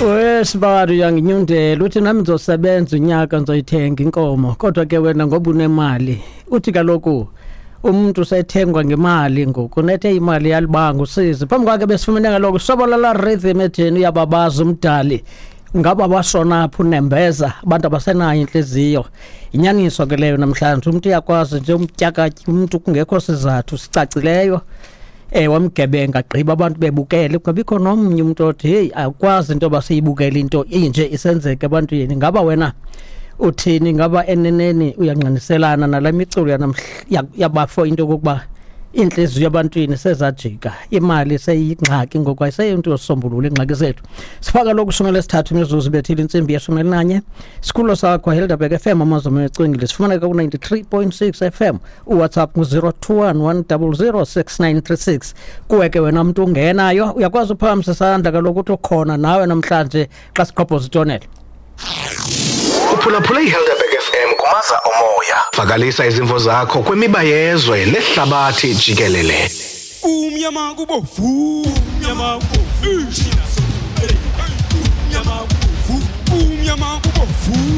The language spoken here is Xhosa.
Wesibari uyanginyundela uthi nami ngizosebenza unyaka ngizoyithenga inkomo, kodwa ke wena ngoba unemali. Uthi kaloku umuntu usethengwa ngemali ngoku, nethe imali yalibanga usizi. Phambi kwakhe besifumene kaloku sobolala rhythm etheni uyababaza umdali. Ngaba bashona phi unembeza, abantu abasenayo intliziyo. Inyaniso ke leyo namhlanje, umuntu uyakwazi nje umtyakatya umuntu kungekho sizathu sicacileyo. Wamgebenga gqiba abantu bebukele, kungabikho nomnye umuntu othi hey, akwazi into yoba siyibukele into inje isenzeka ebantwini. Ngaba wena uthini? Ngaba eneneni uyangqiniselana nale miculo yabafo into yokokuba iintliziyo ebantwini sezajika, imali seyingxaki ngoku, ayiseyinto yosombulula iingxaki zethu. Sifaka lokhu 13 imizuzu bethile intsimbi ye-11. Sikhululo sakho Helderberg FM, amazwe ecwengile, sifumaneka ku-93.6 FM. UWhatsApp ngu-021 100 6936. Kuwe ke wena mntu ungenayo, uyakwazi uphakamisa isandla kaloku uthi ukhona nawe namhlanje xa siqobhoza itonela. Uphulaphula iHelderberg FM kumaza omoya. Vakalisa izimvo zakho kwimiba yezwe nehlabathi jikelele. Umnyama kubovu, umnyama kubovu, umnyama kubovu, umnyama kubovu.